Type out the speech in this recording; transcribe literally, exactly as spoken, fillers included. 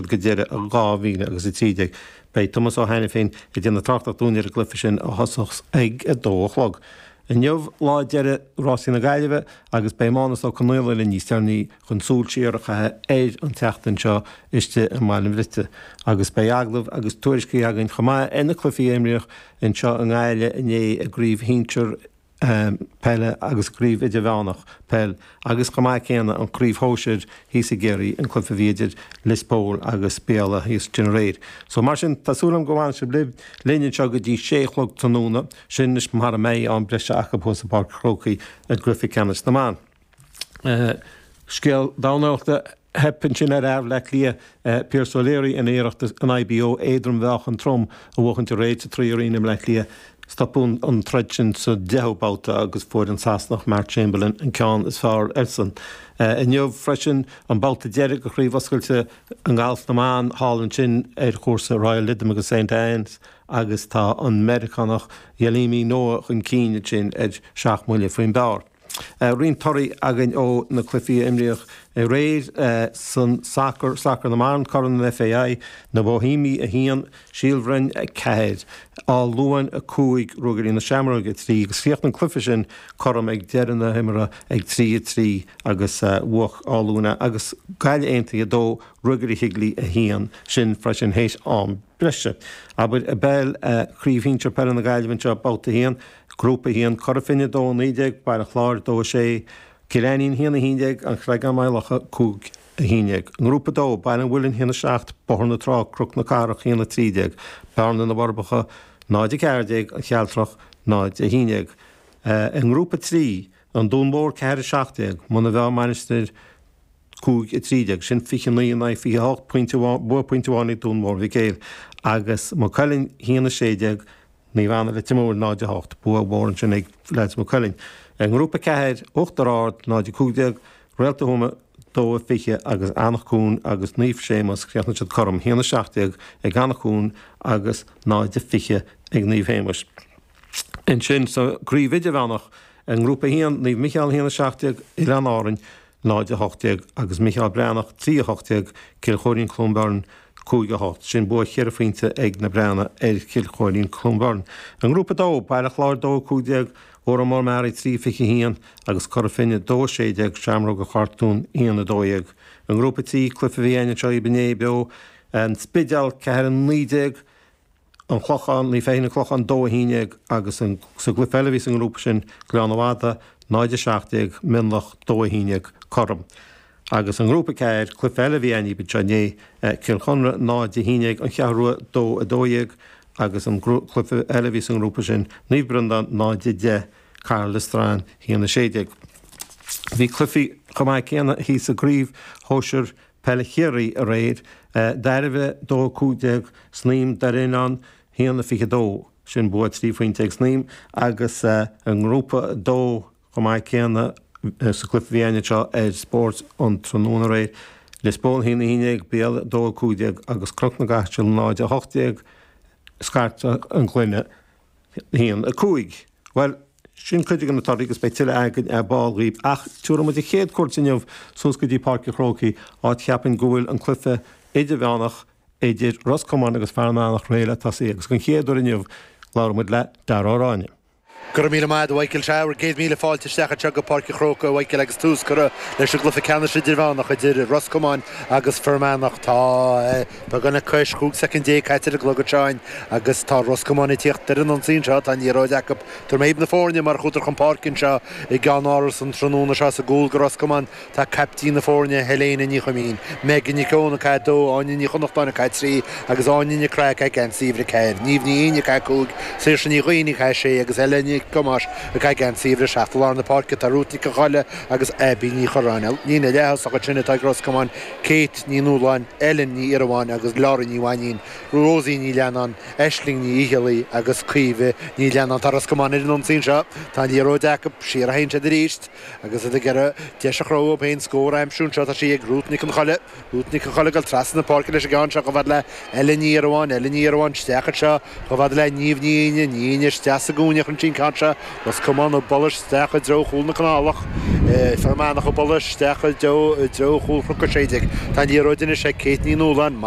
go deireadh dhá mhíle agus a trí déag. Beidh Tomás Ó hAiniféin ag déanamh tráchtaireacht dúinn ar an gcluiche sin a thosós ag a dó a chlog. Inniu lá deiridh Rásaí na Gaillimhe agus beidh Mánus Ó Conaola linn níos deireanaí chun súil siar a chaitheamh ar an tseachtain seo istigh i mBaile an Bhriotaigh. Agus beidh agallamh agus tuairiscí againn chomh maith ar na cluichí a imríodh anseo i nGaillimh inné i gCraobh Shinsir Peile agus Craobh Idirmheánach Peil agus chomh maith céanna an Chraobh Shóisir thíos i gCiarraí, an cluiche a bhí idir Lios Póil agus Béal Átha thíos ansin aréir. So mar sin, tá súil agam go bhfanfaidh sibh libh linn anseo go dtí sé a chlog tráthnóna, sin anois mara mbeidh am breise acu thuas i bPáirc an Chrócaigh i gcluiche ceannais na mban. Scéal dornálaíochta, Theip ansin ar fhear Bhaile Átha Cliath, Pearse O'Leary, ina iarracht an IBO éadrom-mheáchan trom a bhuachaint aréir sa Three Arena i mBleá Cliath. Stopadh an troid sin sa deichiú babhta agus fuair an Sasanach Mark Chamberlain an ceann is fearr airsean. Inniu freisin an babhta deiridh de Chraobh Oscailte i nGalf na mBan thall ansin ar chúrsa Royal Lytham agus St Anne's agus tá an Meiriceánach Yealimi Noh chun cinn ansin ar seacht mbuille faoin bpar. Roinnt torthaí againn ó na cluichí a imríodh aréir san sacar, sacar na mban, Corn an FAI, Na Boihéamaigh a haon, Síol Bhroin a ceathair, Áth Luain a cúig, Ruagairí na Seamróige a trí agus chríochnaigh an cluiche sin cothrom ag deireadh na himeartha ag trí a trí agus bhuaigh Áth Luain é agus Gaillimh Aontaithe a dó, Ruagairí Shigley a haon, sin freisin théis am breise. Abair i bpeil, Craobh Shinsir Peile na Gaillimhe anseo, Babhta a haon, Grúpa a haon, Cora Finne a dó a naoi déag, Baile Chláir a dó a sé, Cill Ainnín a haon a haon déag, An Chreagán-Maigh Locha cúig a haon déag. I nGrúpa a dó, Baile an Mhuilinn a haon a seacht, Bóthar na Trá, Cnoc na Cathrach a haon a trí déag, Bearna na bhForbacha náid a ceathair déag, An Chealtrach náid a haon déag. I nGrúpa a trí, An Dún Mór ceathair a seacht déag, Muine Mheá Mainistir cúig a trí déag, sin fiche naoi in aghaidh fiche a hocht, pointe amháin, bua pointe amháin ag Dún Mór Mhic Éil, agus Maigh Cuilinn a haon a sé déag, Naomh Anna Leitir Móir náid a hocht, bua mhór ansin ag leaids Mhaigh Cuilinn. I nGrúpa a ceathair, Uachtar Ard náid a cúig déag, Réalta Thuama dó a fiche agus Eanach Dhúin agus Naomh Séamus, chríochnaigh siad cothrom, a haon a seacht déag ag Eanach Dhúin agus náid a fiche ag Naomh Shéamuis. Ansin sa gCraobh Idirmheánach, i nGrúpa a haon, Naomh Micheál a haon a seacht déag, Oileáin Árainn náid a hocht déag agus Micheál Breathnach trí a hocht déag, Cill Chóirín Cluain Bheirn cúig a hocht. Sin bua cheithre phointe ag na Breathnaigh ar Chill Chóirín Cluain Bheirn. I nGrúpa a dó, Baile Chláir dó a cúig déag, Órán Mór Meáraí trí fiche a haon agus Cora Finne dó a sé déag, Seamróga Chartúin aon a dó dhéag. I nGrúpa a trí, cluiche a bhí againn anseo inné beo, An Spidéal ceathair a naoi déag, An Clochán, Naomh Feichín An Clochán dó a haon déag agus an sa gcluiche eile a bhí sa ngrúpa sin, Gleann an Fhada, náid a seacht déag, Mionlach, dó a haon déag, cothrom. Agus i ngrúpa ceathair, cluiche eile a bhí againn anseo inné, Cill Chonra, náid a haon déag, An Cheathrú Rua, dó a dó dhéag agus an cluiche eile a bhí sa ngrúpa sin, Naomh Breandán, náid a deich, Caherlistrane, haon a sé déag. Bhí cluichí chomh maith céanna thíos i gcraobh shóisir Peile Chiarraí aréir, Dairbhre dó a cúig déag, Snaidhm Doire Oileáin haon a fiche dó. Sin bua trí phointe ag Snaidhm agus i ngrúpa a dó chomh maith céanna sa gcluiche a bhí againn anseo ar Spórt an tráthnóna aréir, Lios Póil haon a haon déag, Béal dó a cúig déag agus Cnoc na gCaiseal náid a hocht déag, Scairteadh an Ghloine haon a cúig. Bhuel, sin cuid de na torthaí agus beidh tuilleadh againn ar ball dhaoibh ach tabharfaidh muid an chéad cuairt inniu suas go dtí Páirc an Chrócaigh, áit cheapfainn go bhfuil an cluiche idirmheánach idir Ros Comáin agus Fear Manach réidh le tosaí agus den chéad uair inniu labhróidh muid le Dara Ó Ráinne. Go raibh míle maith agat a Mhichael. Sea, bhur gcéad míle fáilte isteach anseo go Páirc an Chrócaigh a Mhichael agus tús curtha leis an gcluiche ceannais idirmheánach idir Ros Comáin agus Fear Manach. Tá beagán le cois chúig soicind déag caite ar an gclog anseo againn agus tá Ros Comáin ag tíocht ar an ionsaí anseo. Tá an liathróid acu. Tabharfaidh mé dhaoibh na foirne mar a chuadar chun páirce anseo i gceannáras an tráthnóna seo sa gcúl do Ros Comáin. Tá caiptín na foirne, Helena Ní Chuimín, Megan Nic Eoin ag caitheamh a dó, Áine Ní Chonnachtáin ag caitheamh trí agus Áine Nic Craith ag caitheamh geansaí uimhir a ceathair, Niamh Ní Fhinn ag caitheamh cúig, Saoirse Ní Dhuinn ag caitheamh sé agus Ella Nic Thomáis ag caitheamh geansaí uimhir a seacht. I lár na páirce tá Ruth Nic an Cholla agus Abby Ní Churráin. Líne leath-thosach ansin atá ag Ros Comáin, Kate Ní Nualláin, Ellen Ní Iarabháin agus Laurie Ní Mhainín, Rosie Ní Leannáin, Aisling Ní Fhicheallaigh agus Caoimhe Ní Leannáin. Tá Ros Comáin ar an ionsaí anseo. Tá an liathróid acu. Siar a théann siad arís. Agus iad ag iarraidh deis a chruthú dóibh féin scór a aimsiú anseo, tá sí ag Ruth Nic an Cholla. Ruth Nic an Cholla ag dul trasna na páirce leis an gceann seo chomh fada le Ellen Ní Iarabháin. Ellen Ní Iarabháin isteach anseo chomh fada le Niamh Ní Fhinn. Ní Fhinn isteach sa gcúinne chun sin ceann. ceann seo Ros Comáin ag bualadh isteach i dtreo chúl na Canálach. Fear Manach ag bualadh isteach i dtreo chúl Chnoc a Sé Déag. Tá an liathróid anois ag Kate Ní Nualláin.